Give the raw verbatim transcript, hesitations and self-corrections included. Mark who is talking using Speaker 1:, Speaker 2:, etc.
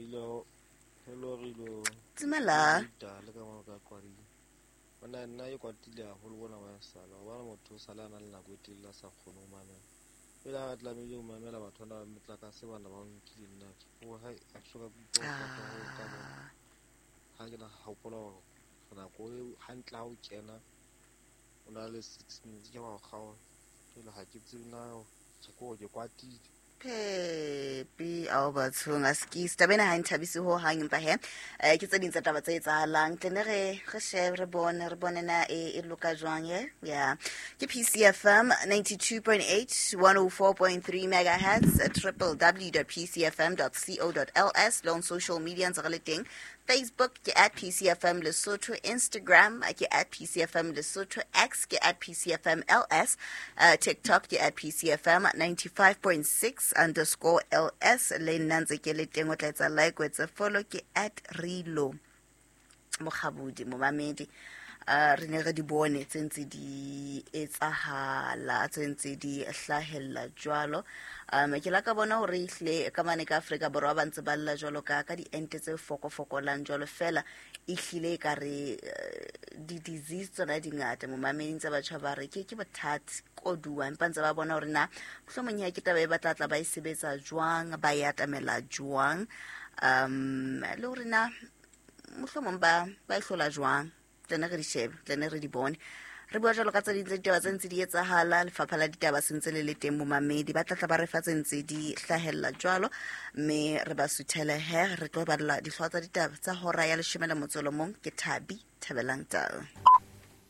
Speaker 1: Hello, hello Rilo.
Speaker 2: Dumela.
Speaker 1: Le ka mo ka kwadi. Bona nna e kwatile haholo bona wa sala. Hobane motho o sala a na le nako e telele a sa kgone ho mamela. Pele ha re tlamehile ho mamela batho bana ba metlakase bana ba o nkile nna. O ha a soka ke utlwa ho kwata ho ka bona. Ha ke na hopola hore nako eo hantle ha o kena o na le six minutes ke wa kgaola. Jwale ha ke tsebe na ke ko ke kwatile.
Speaker 2: Pepe ao bathong a skis taba ena ha e nthabise ho hang empa he eh, ke tse ding tsa taba tse etsahalang tle ne re re shebe re bone re bone na e e loka jwang ye ya ke P C F M ninety-two point eight one oh four point three megahertz triple w dot p c f m dot co dot l s le on social media ntse re le teng. Facebook ke at P C F M Lesotho, Instagram ke at P C F M Lesotho, X ke at P C F M L S, uh, TikTok ke at P C F M ninety-five point six underscore L S. Le nna ntse ke le teng o tla etsa like, o etse follow ke at Rilo Mokgabudi momamedi. Uh, re ne re di bone tse ntse di etsahala, tse ntse di hlahella jwalo. Um, ke la ka bona hore ehlile ka mane ka Afrika Borwa ba ntse ba lla jwalo ka, ka diente tse fokofokolang jwalo, fela ehlile e ka re, eh, di-disease tsona di ngata momameding tsa batjha ba re ke, ke bothata koduwa, empa ntse ba bona hore na mohlomong ya ke taba e ba tla tla ba e sebetsa jwang, ba e atamela jwang, um, le hore na mohlomong ba, ba e hlola jwang. Tle ne re di shebe, tle ne re di bone. Re bua jwalo ka tse ding tsa ditaba tse ntse di etsahala, lefapha la ditaba se ntse le le teng momamedi, ba tla tla ba re fa tse ntse di hlahella jwalo, mme re ba suthele he, re tlo balla dihlooho tsa ditaba tsa hora ya leshome le motso o mong. Ke Thabi Thabelang Tau.